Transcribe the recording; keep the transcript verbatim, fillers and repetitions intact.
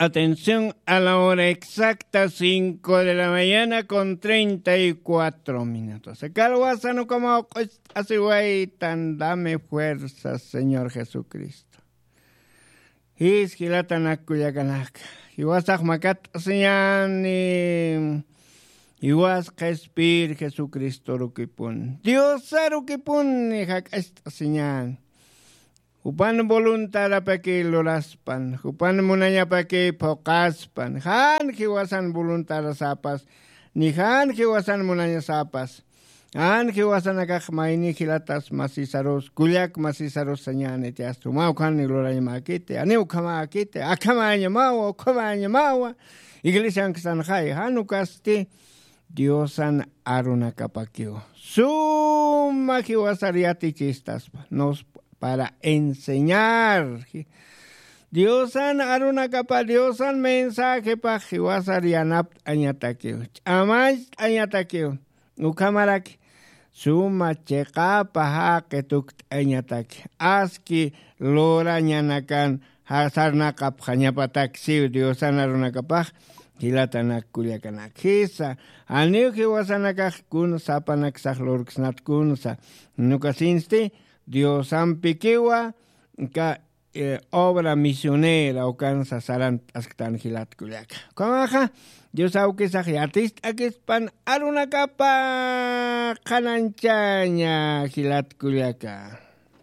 Atención, a la hora exacta, cinco de la mañana con treinta y cuatro minutos. Kalwasan ukamaw q'ust'asiwaytan, dame fuerza, Señor Jesucristo. Jis jilatanak kullakanaka. Jiwasax makat'asiñani. Jiwas qhispir Jesucristorukipun. Diosarukipun jak'acht'asiñani. Jupan voluntadapaki luraspan, jupan munañapaki phuqaspan, jan jiwasan voluntadasapas, ni jan jiwasan munañasapas, jan jiwasanakax mayni jilatas masisarus, kullak masisarus sañäniti, asta umaw jan lurañamäkiti, ani ukhamäkiti, akhamañamawa, ukhamañamawa, iglesianksanxay, jan ukasti, Diosan arunakapakiw. Suma jiwasar yatichistaspa. Nos para enseñar. Diosan arunakapa, Diosan mensajepax jiwasar yanapt'añatakiw. Ch'amacht'añatakiw. Ukhamaraki suma chiqapa jaqi tukt'añataki. Aski lurañanakan sarnaqapxañapatak siw Diosan arunakapax jilatanak kullakanak. Jisa, janiw jiwasanakax kun sapanaksax lurksnat kunsa. Nukasinsti Diosampikiwa ka, eh, obra misionera ukansa sarant'asktan jilat kullaka. Ukhamaxa, Dios awkisax yatist'akispan arunakapa qhananchaña jilat kullaka.